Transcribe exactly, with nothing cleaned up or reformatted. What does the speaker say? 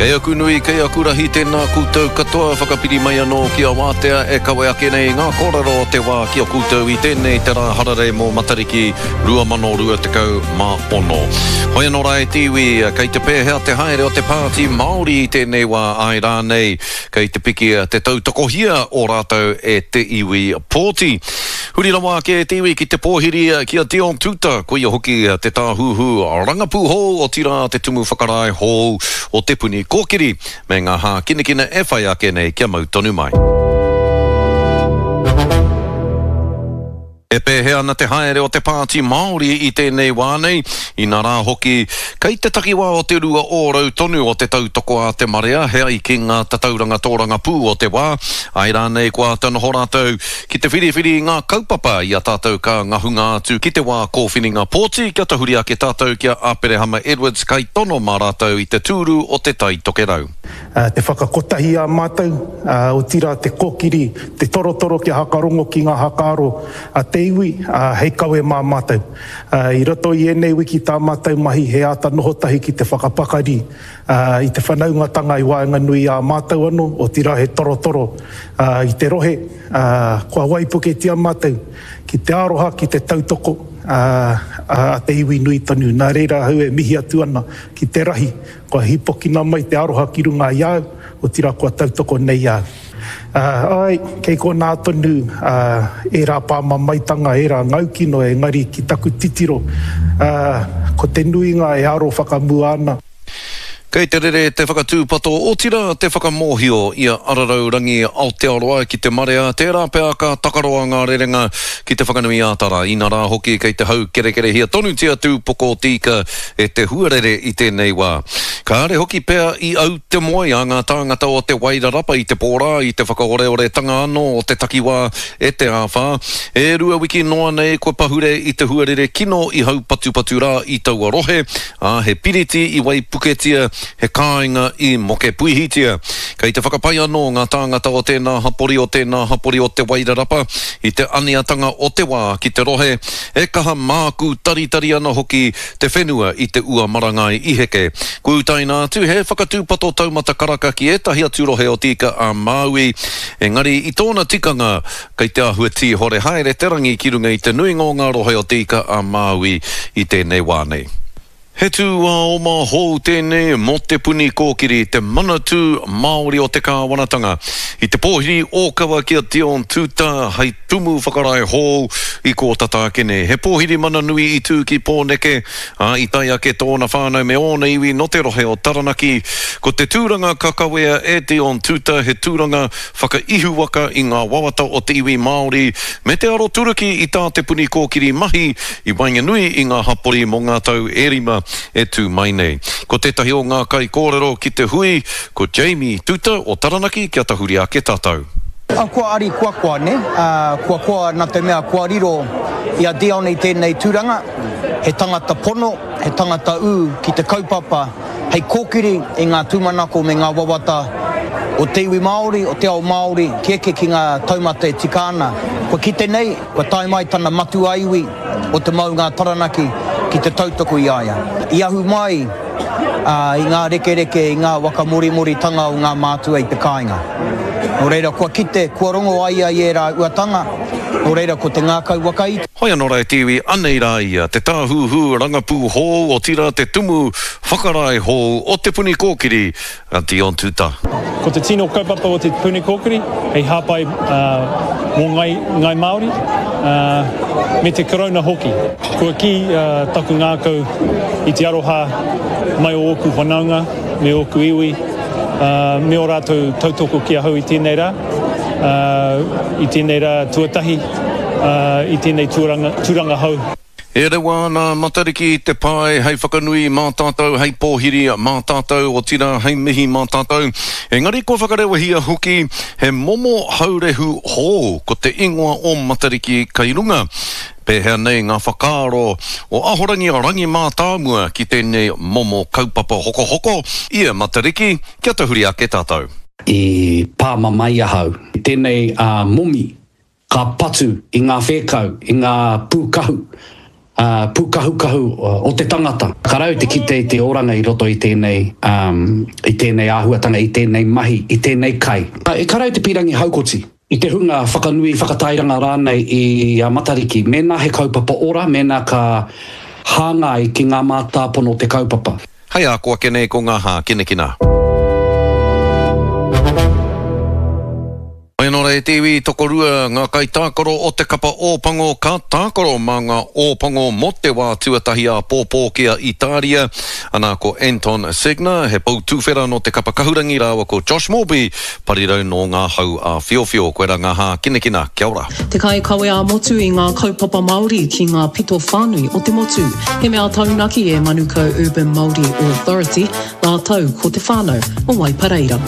Kei aku nui, kei aku rahi, tēnā koutou katoa whakapiri mai anō ki a Wātea e kawe ake nei ngā kōrero o te wā ki a koutou i tēnei te rā hararei mō Matariki rua mano rua tekau mā ono. Hoi anō rā e te iwi, kei te pēhea te haere o te Pāti Māori i tēnei wā, āe rānei, kei te piki te tautokohia o rātou e te iwi pōti. Huri rawa ake e te iwi ki te pōhiri ki a Dion Tuuta, koia hoki te tāhuhu rangapū hou, otirā te tumu whakarae hou o Te Puni Kōkiri, me ngā hākinakina e whai ake nei kia mau tonu mai. E pēhea ana te haere o te Pāti Māori i tēnei wā nei, inā rā hoki, kei te takiwā o te rua ōrau tonu o te tautoko a te marea he ai ki ngā tatauranga tōrangapū o te wā, āe rānei kua āta noho rātou ki te whiriwhiri i ngā kaupapa i a tātou ka ngahunga atu ki te wā kōwhiringa pōti kia tahuri ake tātou ki a Aperehama Edwards kaitono mā rātou i te tūru o Te Tai Tokerau. Te whakakotahi a mātou, otirā te kōkiri, te torotoro kia hakarongo ki ngā hakaaro a te iwi hei kawe mā mātou. I roto i ēnei wiki tā mātou mahi he āta noho tahi ki te whakapakari i te whanaungatanga i waenganui i a mātou anō, otirā he torotoro i te rohe, kua waipuketia mātou ki te aroha, ki te tautoko a te iwi nui tonu. Nā reira ahau e mihi atu ana ki te rahi, kua hīpokina mai te aroha ki runga i a au, otirā kua tautoko nei a au. Āe, kei konā tonu ērā pāmamaetanga, ērā ngaukino, engari ki taku titiro, ko te nuinga e aro whakamua ana. Kei te rere te whakatūpato, otirā te whakamōhio i a Ararau Rangi Aotearoa ki te marea, tērā pea ka takaroa ngā rerenga ki Te Whanganui-ā-Tara, inarā hoki kei te haukerekerehia tonutia te upoko o te ika e te huarere i tēnei wā. Kāre hoki pea i au te moe a ngā tāngata o Te Wairarapa i te pō rā i te whakaoreoretanga anō o te takiwā e te āwhā. E rua wiki noa nei kua pahure i te huarere kino i haupatupatu rā i taua rohe, ā, he piriti i waipuketia, he kāinga i mokepuihitia. Kei te whakapai anō ngā tāngata o tēnā hapori, o tēnā hapori o Te Wairarapa i te aniatanga o te wā ki te rohe, e kaha mākū taritari ana hoki te whenua i te ua marangai i heke. Kua utaina atu he whakatūpato taumata karaka ki ētahi atu rohe o Te Ika-a-Māui, engari i tōna tikanga kei te āhua tīhore haere te rangi ki runga i te nuinga o ngā rohe o Te Ika-a-Māui i tēnei wā nei. He tūāoma hou tēnei mō Te Puni Kōkiri, te Manatū Māori o te Kāwanatanga. I te pōhiri ōkawa ki a Dion Tuuta hei tumu whakarae hou i kō tata ake nei. He pōhiri mana nui i tū ki Pōneke, ā, i tae ake tōna whānau me ōna iwi nō te rohe o Taranaki. Ko te tūranga ka kawea e Dion Tuuta he tūranga whakaihuwaka i ngā wawata o te iwi Māori me te aroturuki i tā Te Puni Kōkiri mahi i waenganui i ngā hapori mō ngā tau e rima e tū mai nei. Ko tētahi o ngā kaikōrero ki te hui, ko Jamie Tuta o Taranaki kia tahuri ake tātou. Kua ari kua koa, nē? Kua koa nā te mea kua riro i a Dion i tēnei tūranga, he tangata pono, he tangata ū ki te kaupapa hei kōkiri i ngā tūmanako me ngā wawata o te iwi Māori, o te ao Māori, ki eke ki ngā taumata e tika ana. Kua kite nei, kua tae mai tana matua iwi o te maunga a Taranaki ki te tautoko i a ia. I ahu mai i ngā rekereke, i ngā waka morimoritanga o ngā mātua i te kāinga. Nō reira, kua kite, kua rongo a ia i ērā uatanga, nō reira ko te ngākau whakaiti. Hoi anō rā e te iwi, anei rā ia, te tāhuhu rangapū hou, otirā te tumu whakarae hou o Te Puni Kōkiri, a Dion Tuta. Ko te tino kaupapa o Te Puni Kōkiri hei hāpai mō Ngāi Māori me te Karauna hoki. Kua kī taku ngākau i te aroha mai o ōku whanaunga me ōku iwi me ō rātou tautoko ki ahau i tēnei rā, i tēnei rā tuatahi. I tēnei tūranga hou. E rewa ana a Matariki i te pae hei whakanui mā tātou, hei pōhiri mā tātou, otirā hei mihi mā tātou. Engari kua whakarewahia hoki he momo haurehu hou, ko te ingoa o Matariki kei runga. Pēhea nei ngā whakaaro o Ahorangi Rangi Mātāmua ki tēnei momo kaupapa hokohoko i a Matariki? Kia tahuri ake tātou. I pāmamae ahau. Tēnei a momi ka patu i ngā whēkau, i ngā pūkahu, pūkahukahu o te tangata. Ka rau te kite i te oranga i roto i tēnei, i tēnei āhuatanga, i tēnei mahi, i tēnei kai. E ka rau te pīrangi haukoti i te hunga whakanui, whakatairanga rānei i a Matariki, mēnā he kaupapa ora, mēnā ka hāngai ki ngā mātāpono o te kaupapa. Hei a ko ake nei ko ngā hākinakina. Mai anō rā e te iwi, tokorua ngā kaitākaro o te kapa Ōpango ka tākaro mā ngā Ōpango mō te wā tuatahi āpōpō ki a Itāria. Ana ko Anton Segner, he pou tuwhera nō te kapa kahurangi rāua ko Josh Morby, parirau nō ngā hau āwhiowhio. Koirā ngā hākinakina. Kia ora. Te kaikawe ā-motu i ngā kaupapa Māori ki ngā pito whānui o te motu. He mea taunaki e Manukau Urban Māori Authority, rātou ko te whānau o Waipareira.